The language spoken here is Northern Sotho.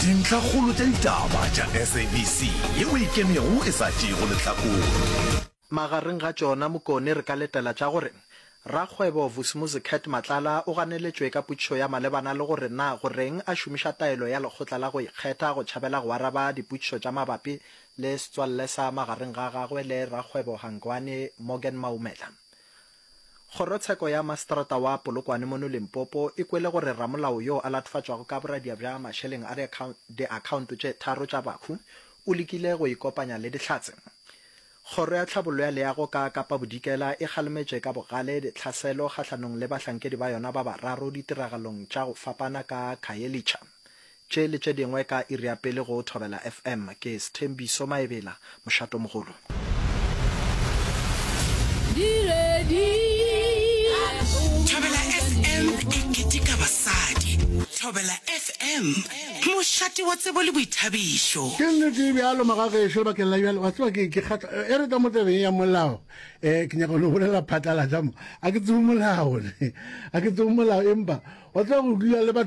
Dintlhakgolo tša ditaba tša SABC yeo e ikemego e sa tšeego lehlakore. Magareng ga tšona Mokone re ka letela tša gore rakgwebo Vusimuzi Cat Matlala o ganeletšwe ka potšišo ya malebana le gore na goreng a šomiša taelo ya lekgotla la go ikgetha go tšhabela go araba dipotšišo tša mabapi le setswalle sa magareng ga gagwe le rakgwebo Hangwani Morgan Maumela. Kgorotsheko ya Maseterata wa Polokwane mono Limpopo e kwele gore ramolao yo a latofatšwago ka boradia bja mašeleng a diakhaonto tše tharo tša bahu o lekile go ikopanya le Dihlatse. Kgoro ya Tlhabollo ya Leago ka Kapa Bodikela e kgalemetše ka bogale ditlhaselo kgahlanong le bahlankedi ba yona ba bararo ditiragalong tša go fapana ka Khayelitsha. Tše le tše dingwe ka iri ya pele go Thobela FM. Ke Sthembiso Maebela, mošatomogolo. Thobela FM e keteka basadi. Thobela FM, mošate wa tsebo le boithabišo. Ke nnete e bjalo magagešo lebakeng la bjale wa tseba ke ke kgatla e re tla mo tabeng ya molao um ke nyaka go no bolela phatlalatša mo a ke tsebe molao a ke tsebe molao empa wa tseba go dula le batho.